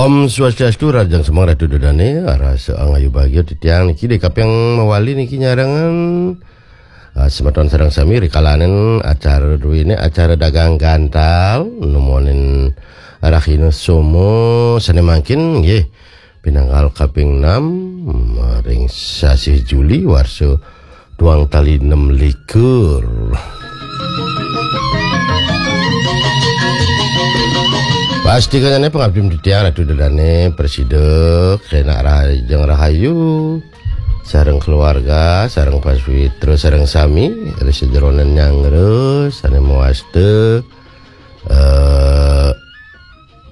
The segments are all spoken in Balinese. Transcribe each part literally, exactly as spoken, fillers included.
Om Swastiastu, rahajeng semeng Ratu Ida Dane, arahang ayu bagia titiang niki ring kaping mawali niki nyarengang, ah, semeton sareng sami ring kalaning acara druene, acara dagang gantal, numonin rahina Soma sane mangkin nggih pinanggal kaping enam ring sasih Juli warsa duang tali nem likur. Pastika jane pangabdi titiang Ratu Ida Dane prasida kenak rahajeng rahayu sareng keluarga, sareng paswitra, sareng sami ring sajeroning nyanggra sane mawasta, eh,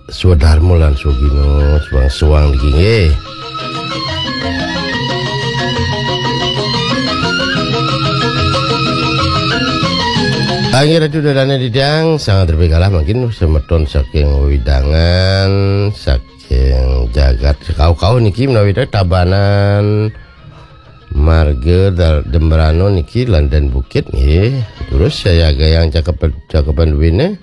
swadarma lan swagina suang-suang niki nggih. Inggih Ratu Ida Dane titiang, sanget ripikala mangkin semeton saking wewidangan, saking jagat sekauh-kauh niki menawi Tabanan, marga Dal-, Jembrana niki lan Daan Bukit nggih. Terus sayagayang cakepan, cakepan duene.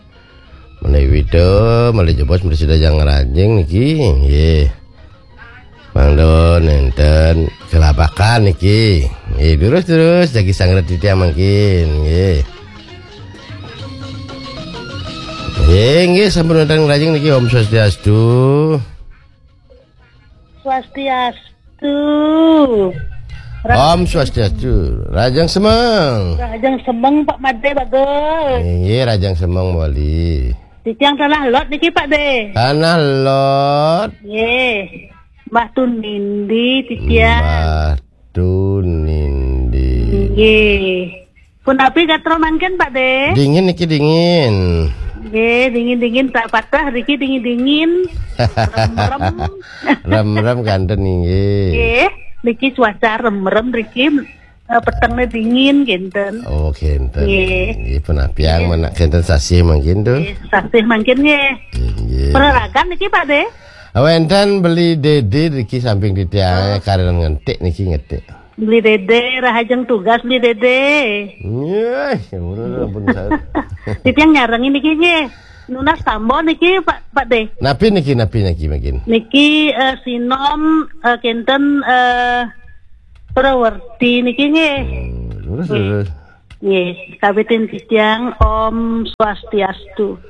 Malih Wida, malih Jebos, malih Sidajang Rajing niki, nggih. Mangda nenten kelabakan niki. Nggih, terus-terus jagi sanget titiang mangkin, nggih. Nggih, nggih, sampun wenten rajing niki, Om Swastiastu. Swastiastu. Om Swastiastu. Rahajeng semeng. Rahajeng semeng, Pak Made, bagus. Nggih, rahajeng semeng mawali. Titiang Tanah Lot niki, Pak De. Tanah Lot. Nggih. Mbah Tunindi titiang. Mbah Tunindi. Nggih. Punapi gatra mangkin, Pak De? Dingin niki, dingin. Nggih, dingin-dingin tak patah niki, dingin-dingin. Remrem. Remrem kanten nggih. Nggih, niki cuaca remrem niki, eh, petengnya dingin kinten. Oh, kinten. Nggih. Nggih, punapi menak kinten sasih mangkin to. Nggih, sasih mangkin nggih. Nggih. Peraragan niki, Pak De? Wenten Beli Dede niki samping titiang, oh, karenan ngetik niki, ngetik. Beli Dede, rahajeng tugas Beli Dede. Nggih, ya, ampun, ampun, saya. Titiang nyarengin niki nggih. Nunas tamba niki, Pak, Pak De. Napi niki, napi niki mangkin? Niki, eh, sinom, eh, kinten, eh, prawerti niki nggih. Hmm, terus, nggih, terus. Nggih, kawitin titiang Om Swastiastu.